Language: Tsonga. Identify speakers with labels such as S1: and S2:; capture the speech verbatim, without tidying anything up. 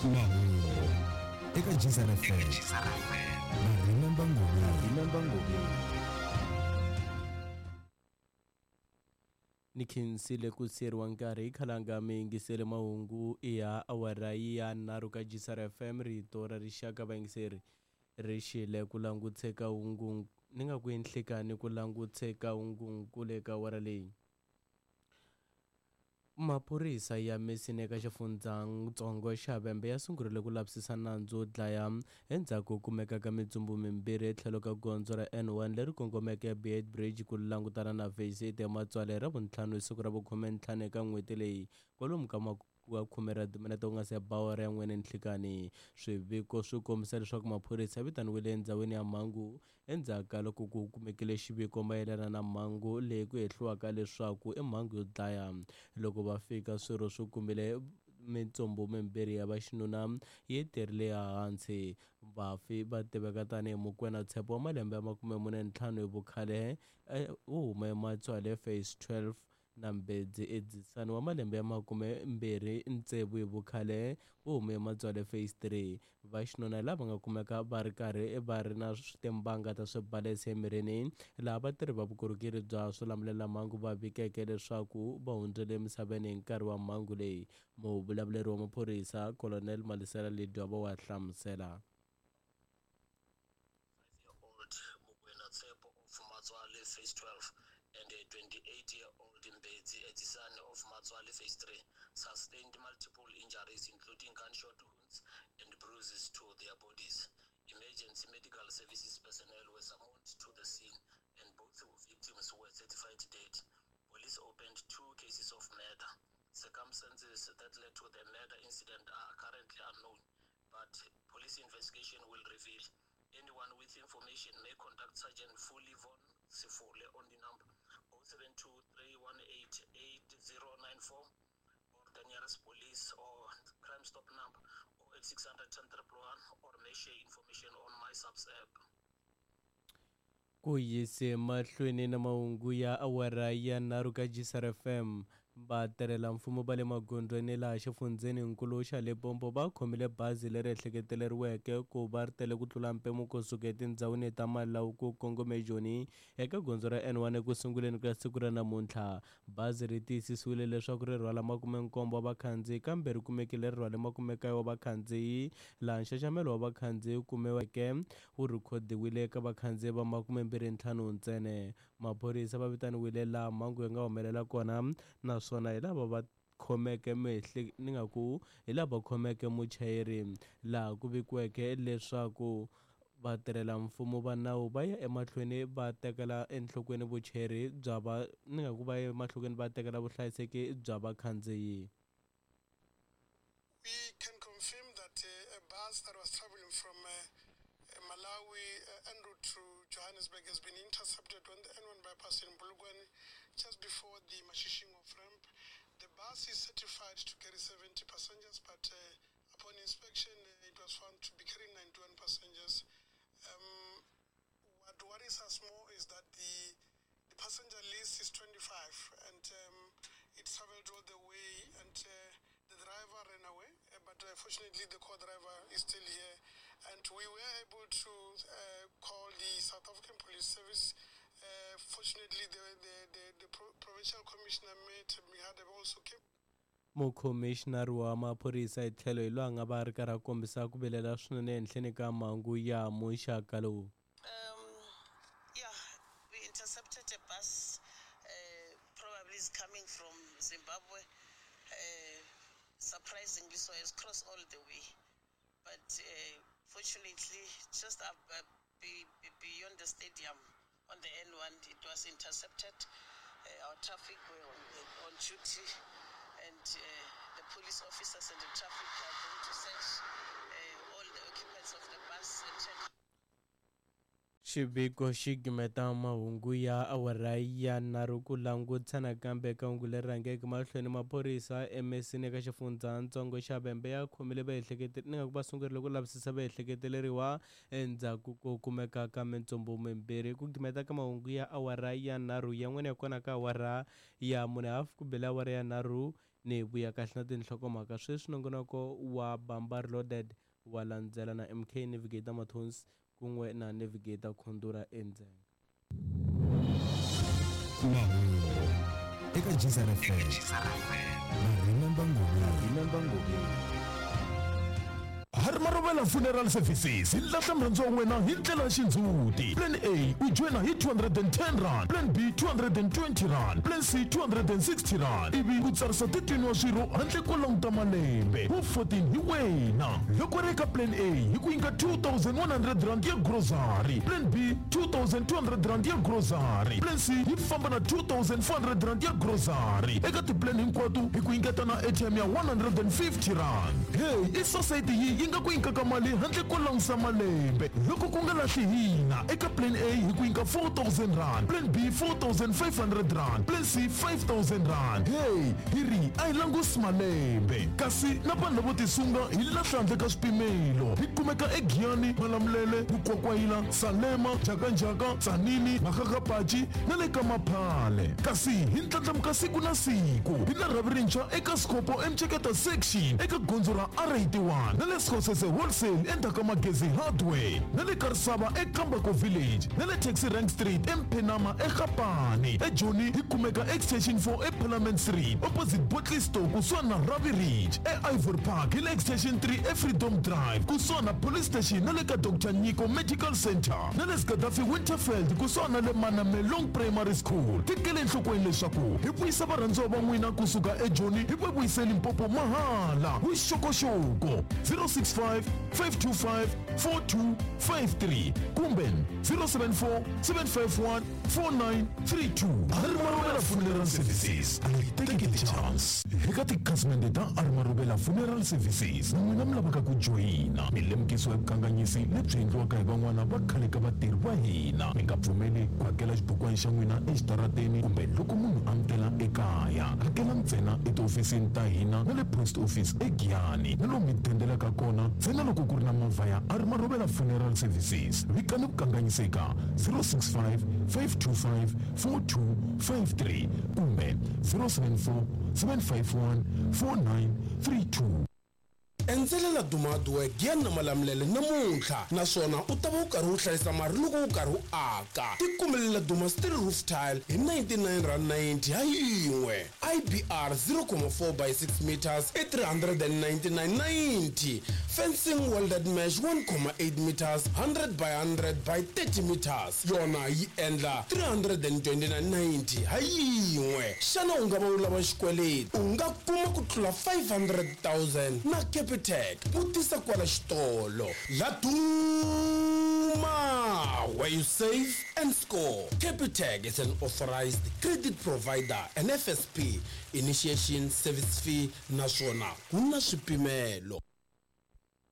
S1: Mahungu eka G S R F M na Remember Ngobeni. Remember Ngobeni.
S2: Ni khensile ku siyeriwa nkarhi khalanga mi yingisele mahungu ya awara ya nharhu ka G S R F M, rito ra rixaka. Vayingiseri, ri xile ku languteka hungu ni nga ku enhlekani ku languteka hungunkulu eka awara leyi. Maphorisa ya Mesina eka xifundzatsongo xa Vhembe ya sungurile ku lavisisa nandzu wo dlaya endzhaku ko kumeka ka mitsumbu mimbirhi etlhelo ka gondzo ra N one leri kongomeke Beitbridge ku langutana na Phase eight ya Matswale hi Ravuntlhanu hi siku ra vukhume ntlhanu eka n'hweti leyi, kwalomu ka wa khume ra timinete ku nga se ba awara ya n'we ninhlikani. Swiviko swi kombisa leswaku maphorisa ya vitaniwile endhawini ya mhangu endzhaku ka loko ku kumekile xiviko mayelana na mhangu leyi ku hehliwaka leswaku i mhangu yo dlaya. Loko va fika, swirho swi kumile mitsumbu mimbirhi ya vaxinuna yi terile ehansi. Vafi va tiveka tanihi Mukwena Tshepo wa malembe ya makume mune ntlhanu hi vukhale, wo huma eMatswale Phase twelve, na Mbedzi Edzisani wa malembe ya makume mbirhi ntsevu hi vukhale, wo huma eMatswale Phase three. Vaxinuna lava nga kumeka va ri karhi va ri na timbanga ta swibalesa emirini, laha vatirhi va vukorhokeri bya swilamulelamhangu va vikeke leswaku va hundzile emisaveni hi nkarhi wa mhangu leyi. Muvulavuleri wa maphorisa, Colonel Malisela Ledwaba, wa hlamusela.
S3: Old Mukwena Tsepo of Matswale Phase twelve and a twenty-eight-year-old Mbedzi Edzisani of Matswale Phase three sustained multiple injuries, including gunshot wounds and bruises to their bodies. Emergency medical services personnel were summoned to the scene and both victims were certified dead. Police opened two cases of murder. Circumstances that led to the murder incident are currently unknown, but police investigation will reveal. Anyone with information may contact Sergeant Fully Von Sifole on the number zero seven two three one eight eight zero nine four or the nearest police or Crime Stop number zero eight six hundred ten one one or may share information on my Subs app.
S2: Ku yise mahlweni na mahungu ya awara ya nharhu ka G S R F M. Vatirhela mfumo va le magondzweni laha xifundzheninkulu xa Limpopo va khomile bazi leri ehleketeleriweke ku va ri tele ku tlula mpimo kusuka etindhawini ta Malawi ku kongome Joni eka gondzo ra N one eku sunguleni ka siku ra namuntlha. Bazi ri tiyisisiwile leswaku ri rhwala makume nkombo wa vakhandziyi, kambe ri kumekile ri rhwale makume kaye wa vakhandziyi, laha nxaxamelo wa vakhandziyi wu kumiweke wu rhikhodiwile eka vakhandziyi va makume mbirhi ntlhanu ntsena. Maphorisa va vitaniwile laha mhangu yi nga humelela kona, naswona hi lava va khomeke mehle ni nga ku hi lava khomeke muchayeri, laha ku vikiweke leswaku vatirhela mfumo va nawu va ya emahlweni va tekela enhlokweni vuchayeri bya va ni nga ku va ya emahlweni va tekela vuhlayiseki bya vakhandziyi.
S4: We can confirm that uh, a bus that was traveling from uh, uh, Malawi uh, en route to Johannesburg has been intercepted on the N one bypass in Polokwane just before the Mashishing off ramp. The bus is certified to carry seventy passengers, but uh, upon inspection, uh, it was found to be carrying ninety-one passengers. Um, what worries us more is that the, the passenger list is twenty-five and um, it traveled all the way and uh, the driver ran away, uh, but uh, fortunately the co-driver is still here, and we were able to uh, call the South African Police Service. Uh, fortunately, the, the, the, the pro- provincial commissioner met Mihadeb also came.
S2: Mukhomixinari wa maphorisa hi tlhelo hi loyi a nga va a ri karhi a kombisa ku vilela swinene ehenhleni ka mhangu ya muxaka lowu.
S5: Um, yeah, we intercepted a bus, uh, probably is coming from Zimbabwe. Uh, surprisingly, so it's crossed all the way. But uh, fortunately, just up, uh, be, be beyond the stadium on the N one, it was intercepted. Uh, our traffic were on, on duty, and uh, the police officers and the traffic are going to search uh, all the occupants of the bus and check
S2: Xiviko xi gimeta mahungu ya awara ya nharhu. Ku langutisa nakambe eka hungu leri rhangeke mahlweni, maphorisa emesini eka xifundzatsongo xa Vhembe ya khomile vaehlekete ni nga ku va sungurile ku lavisisa vaehleketeleriwa endzhaku ko kumeka ka mintsumbu mimbirhi. Ku gimeta ka mahungu ya awara ya nharhu, yan'wana ya kona ka awara ya mune hafu ku bele awara ya nharhu. Ni vuya kahle na tinhlokomhaka sweswi nongonoko wa Bamba Reloaded wa landzela na M K Navigator Mathonsi kun'we na Navigator Khondura Endzhenga.
S1: Mahungu eka Geyser F M na Remember Ngobeni. Remember Ngobeni.
S6: Harimarovela Funeral Services hi lahla mrhandzu wa wena hi ndlela ya xindzhuti. Plan A u joyina hi two hundred and ten rand, Plan B two hundred and twenty rand, Plan C two hundred and sixty rand, ivi u tsarisa thirteen wa swirho handle ko languta malembe. Wu fourteen hi wena. Loko ri eka Plan A hi ku nyika two thousand one hundred rand ya grocery, Plan B two thousand two hundred rand ya grocery, Plan C yi famba na two thousand four hundred rand ya grocery. Eka tiplan hinkwato hi ku nyiketa na airtime ya one hundred and fifty rand. Hey, i society yi yi nga ku nyikaka mali handle ko langusa malembe. Loko ku nga lahli hina eka Plan A hi ku nyika four thousand rand, Plan B four thousand five hundred rand, Plan C five thousand rand. Hey, hi ri a hi langusi malembe. Kasi na vanhu lavo tisunga hi lahla handle ka swipimelo. Hi kumeka eGiyani, Malamulele, Mukwakwayila, Salema, Njhakanjhaka, Tzaneen, Makgakgapachi na le ka Maphale. Kasi hi ndlandlamuka siku na siku. Hi na rhavi rintshwa eka Sikopo eMceketa section eka gondzo ra R eighty-one na le Skhosese Wholesale endzhaku ka Magezi Hardware na le Karisava eKambako Village na le Taxi Rank Street eMphenama eGapani. eJoni hi kumeka Extension four eParliament Street opposite Botley Store kusuhani na Ravi Ridge. E-Ivory Park hi le Extension three eFreedom Drive kusuhani na Police Station na le ka Doctor Nyiko Medical Center na le Gaddafi Winterfeld kusuhani na le Manamelong Primary School. Tekele enhlokweni leswaku hi vuyisa varhandziwa va n'wina kusuka eJoni hi va vuyise Limpopo mahala. Vuxokoxoko zero six five, five two five, four two five three kumbe zero seven four, seven five one, four nine three two. Harimarovela Funeral Services a yi teki chance. Eka tikhasimende ta Harimarovela Funeral Services na n'wina mi lavaka ku joyina, mi lemukisiwa hi vukanganyisi lebyi endliwaka hi van'wana va khale ka vatirhi va hina. Mi nga pfumeli ku hakela xibukwana xa n'wina exitarateni kumbe loko munhu a mi tela ekaya. Hakela ntsena etihofisini ta hina na le post office eGiyani na lomu mi dendelaka kona ntsena loko ku ri na movha ya Harimarovela Funeral Services. Vikani vukanganyiseka zero six five, five two five, four two five three kumbe zero seven four, seven five one, four nine three two.
S7: Endzela Laduma Hardware Giyani na Malamulele namuntlha naswona u ta va u karhi u hlayisa mali loko u karhi u aka. Tikumele Laduma Steel Roof Tile hi ninety-nine rand ninety ha yin'we. I B R zero comma four by six meters i three hundred and ninety-nine ninety. Fencing welded mesh one comma eight meters hundred by hundred by thirty meters yona yi endla three hundred and twenty-nine ninety ha yin'we. Xana u nga va u lava xikweleti? U nga kuma ku tlula five hundred thousand na Capitec. Vutisa kwala xitolo. Laduma, where you save and score. Capitec is an authorized credit provider and F S P initiation service fee naswona ku na swipimelo.